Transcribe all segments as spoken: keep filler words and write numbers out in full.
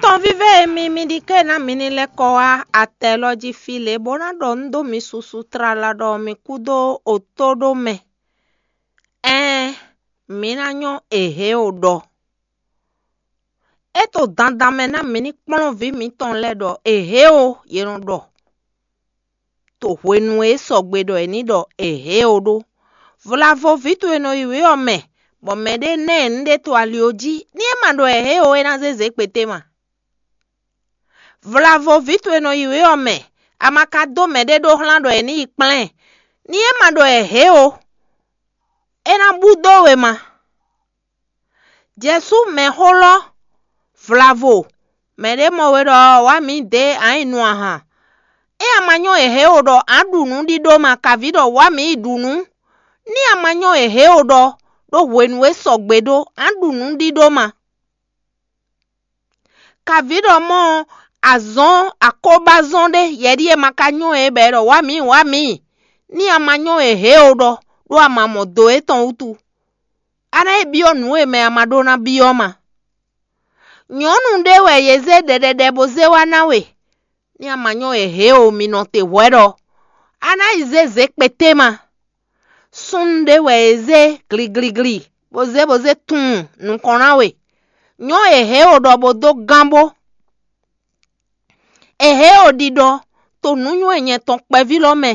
Tɔn vívɛ́ e mi mi ɖi ké ná mi ní lɛ́ kɔ wá atɛ lɔ jí fí lě bó ná ɖɔ nǔ dó mi susu tlala ɖɔ mi kú dó otó ɖó mɛ. Ɛɛn, mi ná nyɔ́ èhě o ɖɔ. É to dandan mɛ ná mi ní kplɔ́n vǐ mitɔn lɛ́ɛ ɖɔ èhě o, yě nɔ ɖɔ. To hwenu e é sɔgbe ɖɔ è ní ɖɔ èhě o ɖó. Vlavo vǐ towe nɔ yi wě ɔ́ mɛ, bɔ mɛɖé ná ɛ nǔɖé to ali ɔ́ jí, ní é ma ɖɔ èhě o, é ná zé zě kpété ma. Vlavo vǐ towe nɔ yi wě ɔ́ mɛ, a ma ka dó mɛɖé ɖó hlán ɖɔ è ní yi kplɛ́n ɛ, ní é ma ɖɔ èhě o, é ná bú dó we ma. Jɛ̌sú mɛxó lɔ́, vlavo, mɛɖé mɔ we ɖɔ wǎ mǐ dě a nyǐ nu ahan. É a ma nyɔ́ èhě o ɖɔ a ɖu nǔ ɖíɖó ma, kaví ɖɔ wǎ mǐ yi ɖu nǔ. Ní a ma nyɔ́ èhě o ɖɔ ɖó hwenu e sɔgbe ɖó a ɖu nǔ ɖíɖó ma. Kaví ɖɔ mɔ azɔn akóbázɔn ɖé yɛɖíe ma ka nyɔ́ ɛ bɔ é ɖɔ wǎ mǐ wǎ mǐ. Ní a ma nyɔ́ èhě o ɖɔ ɖó a ma mɔ do étɔn wútu. A ná yi byɔ́ nǔ e mɛ a ma ɖó ná byɔ́ ma. Nyɔ̌nu ɖé wɛ yě zé ɖɛɖɛɖɛ bó zé wá ná we. Ní a ma nyɔ́ èhě o, mi nɔ te hwɛ̌ ɖɔ a ná yi zé zě kpété ma. Súnnu ɖé wɛ è zé gligligli bó zé bó zé tunwun nukɔn ná we. Nyɔ́ èhě o ɖɔ bó dó gán bó. Èhě o ɖiɖɔ to nǔnywɛ́ nyɛ tɔn kpɛví lɔ mɛ.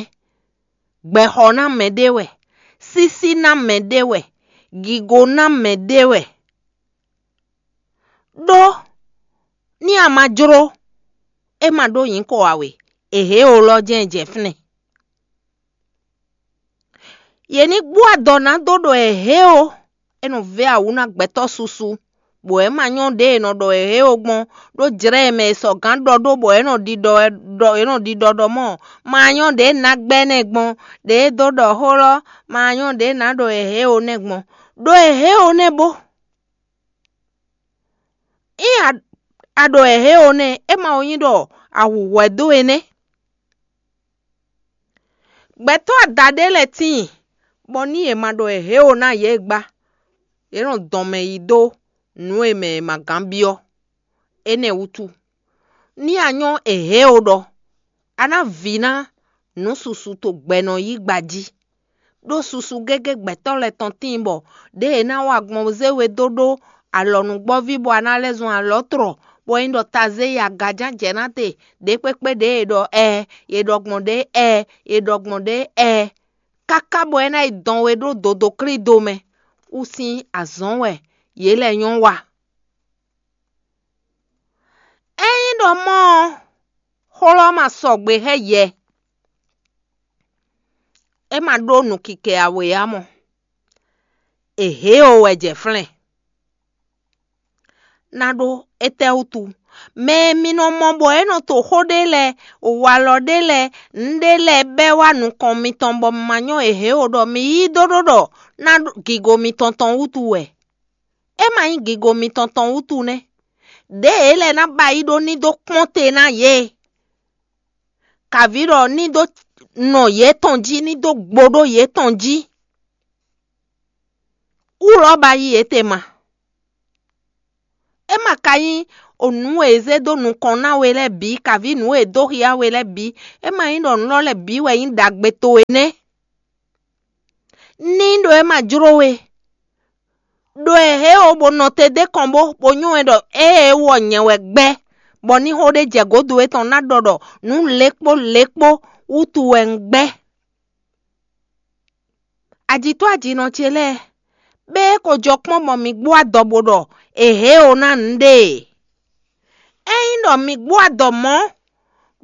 Gbɛxɔ ná mɛ ɖé wɛ, sísí ná mɛ ɖé wɛ, gigo ná mɛ ɖé wɛ. Ɖó ní a ma jló, é ma ɖó nyǐkɔ ǎ we, èhě o lɔ jɛ́n jɛ fínɛ́. Yě ní gbú adɔ ná dó ɖɔ èhě o, é nɔ vɛ́ awǔ ná gbɛtɔ́ susu, bɔ é ma nyɔ́ ɖě è nɔ ɖɔ èhě o gbɔn, ɖó jlɛ̌ e mɛ è sɔgǎn ɖɔ ɖó bɔ é nɔ ɖiɖɔ wɛ ɖɔ é nɔ ɖiɖɔ ɖɔ mɔ ma nyɔ́ ɖě ná gbɛ́ nɛ́ gbɔn, ɖě e dó ɖɔ xó lɔ ma nyɔ́ ɖě ná ɖɔ èhě o nɛ́ gbɔn, ɖó èhě o nɛ́ bó. Ényí a ɖo èhě o nɛ́, é ma nyí ɖɔ a hu hwɛ dó we nɛ́. Gbɛtɔ́ adaɖé lɛ́ɛ tíin, bɔ ní yě ma ɖɔ èhě o ná yě gbá, yě nɔ dɔn mɛ yi dó nǔ e mɛ è ma gán byɔ́. Énɛ́ wútu, ní a nyɔ́ èhě o ɖɔ, a ná vǐ ná nǔ susu to gbɛ nɔ yí gba jí. Ɖó susu gégé gbɛtɔ́ lɛ́ɛ tɔn tíin bɔ ɖěe è nǎ wa gbɔn zé we dó ɖó alɔ̌núgbɔ́ví bɔ a ná lɛ́ zɔn alɔ̌tlɔ, bɔ é nyí ɖɔ tazé yi agaján jɛ ná te, ɖě kpékpé ɖě è ɖɔ ɛ, è ɖɔ gbɔn ɖě ɛ, è ɖɔ gbɔn ɖě ɛ, káká bɔ é ná yi dɔn we ɖó dodoklido mɛ, wú sín azɔ̌n wɛ yě lɛ́ nyɔ́ wa. Ényí ɖɔ mɔ̌ ɔ́, xó lɔ́ ma sɔgbe xá yɛ, é ma ɖó nǔkikɛ ǎ we ǎ mɔ. È hě o wɛ jɛ flɛ́n. Ná ɖó étɛ́ wútu? Mɛ e mi nɔ mɔ bɔ é nɔ to xó ɖé lɛ́ɛ, walɔ ɖé lɛ́ɛ, nǔ ɖé lɛ́ɛ bɛ́ wá nukɔn mitɔn bɔ ma nyɔ́ è hě o ɖɔ mi yí dó ɖó ɖɔ ná ɖó gigo mitɔn tɔn wútu wɛ. É ma nyí gigo mitɔn tɔn wútu nɛ́. Đěe é lɛ́ ná ba yí ɖó ní dó kpɔ́n te ná yě. Kavǐ ɖɔ ní dó nɔ yětɔn jí, ní dó gbo ɖó yětɔn jí. Wú lɔ́ ba yí yě te ma. É ma ka nyí o nǔ e è zé dó nukɔn ná we lɛ́ɛ bǐ, kavǐ nǔ e è dó xyá we lɛ́ɛ bǐ, é ma nyí ɖɔ nǔ lɔ lɛ́ɛ bǐ wɛ nyí ɖagbe towe nɛ́. Ní ɖo é ma jló we. Ɖo è hě o bó nɔ te d'é kɔn bó bó nyɔ́ ɛ ɖɔ ée é wɔ nyɛ wɛ gbɛ́, bɔ ní xó ɖé jɛ gǒdo étɔn ná ɖɔ ɖɔ nǔ lě kpó lě kpó wútu wɛ un gbɛ́. Ajǐtɔ́ ajǐnɔ ce lɛ́ɛ, bɛ́ é ko jɔ kpɔ́n bɔ mi gbó adɔ bó ɖɔ è hě o ná nǔɖé e. Ényí ɖɔ mi gbó adɔ mɔ̌,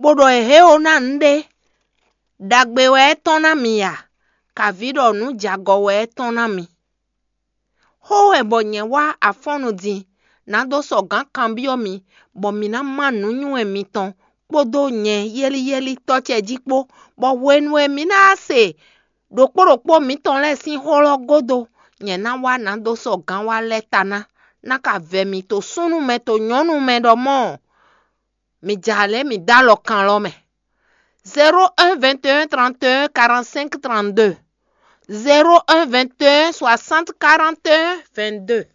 bó ɖɔ è hě o ná nǔɖé, ɖagbe wɛ é tɔ́n ná mi a, kavǐ ɖɔ nǔ jagɔ wɛ é tɔ́n ná mi. Xó wɛ bɔ nyɛ wá afɔ́nnu din, ná dó sɔ gǎn kanbyɔ́ mi, bɔ mǐ ná má nǔnywɛ́ mitɔn kpódó nyɛ yɛ́líyɛ́lí tɔ́ ce jí kpó, bɔ hwenu e mǐ ná se ɖokpó ɖokpó mǐtɔn lɛ́ɛ sín xó lɔ́ gúdo, nyɛ ná wá ná dó sɔ gǎn wá lɛ́ ta ná, ná ka vɛ mi to súnnu mɛ to nyɔ̌nu mɛ ɖɔ mɔ̌, mi jɛ alɛ mi dó alɔ kan lɔ mɛ. Zéro un vingt et un trente et un quarante-cinq trente-deux. Zéro un vingt et un soixante quarante et un vingt-deux.